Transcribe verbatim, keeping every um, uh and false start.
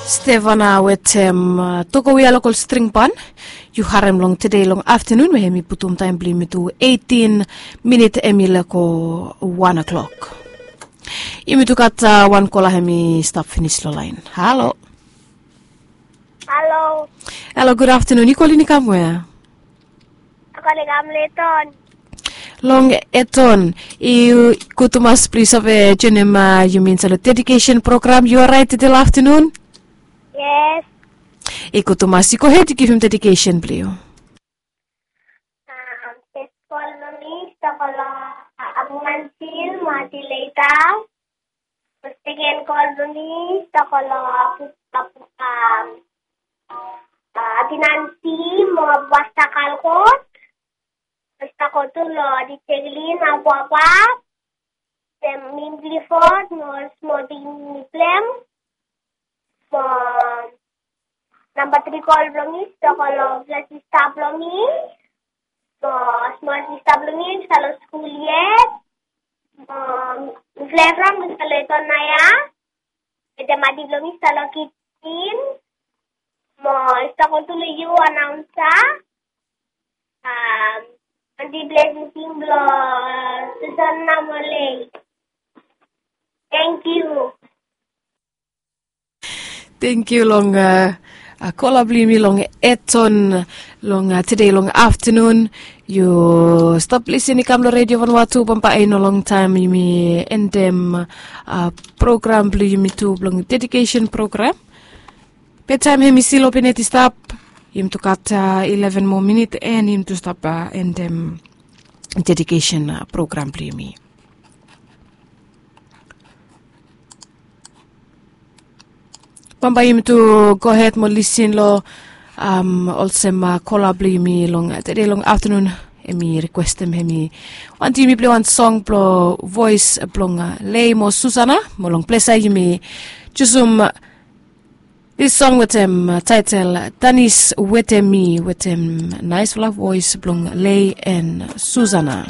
Stefana wetem tokowi a lokol stringpan. Yu harem long tede long aftanun we hem i putum taem blong yumi tu eitin minit hem i leko wan o'klok. Yumi tu gat wan kola hem i stap finis long laen. Halo. Halo. Halo, gud aftanun. Yu kolin i kam we? Long Eton. I gud tumas blong yu save joenem yumi insaed long dedikesen program. Yu oraet tede long aftanun? Yes. I gud tumas. Yu gohed yu givim dedikesen blong yu. Fes kol blong mi i stap long Abumansil mo Atileita. Seken kol blong mi i stap long Abinansi mo Pasta Kalkot. Pasta Kotu long Diseklin Abuabua. Sem Minglifot mo smol pikinini blong hem. Mo namba tri kol blong mi i stap long sista blong mi. Mo smol sista blong mi i stap long skul yet. Mo mifala evriwan mifala i stap long Eton nao ya. Wetem adi blong mi i stap long kijen. Mo i stap go tu long yu anaonsa. Adi blong tingting blong Susana mo Lei. Tangkiu. Tangkiu long kola blong yumi long Eton long tede long aftanun. Yu stap lisin i kam long Redio Vanuatu, bambae i no longtaem yumi endem program blong yumi tu blong dedikesen program. Be taem hem i stil open yet i stap. Yumi tu gat ileven moa minit and yumi tu stap endem dedikesen program blong yumi. Bambae yumi tu gohed mo lisin long olsem kola blong yumi long tede long aftanun. Hem i rikwestem hem i wantem yumi pilei wan song blong voes blong Lei mo Susana. Mo long ples ya yumi jusum dis song wetem taetel Danis Wetem Mi wetem naesfala voes blong Lei and Susana.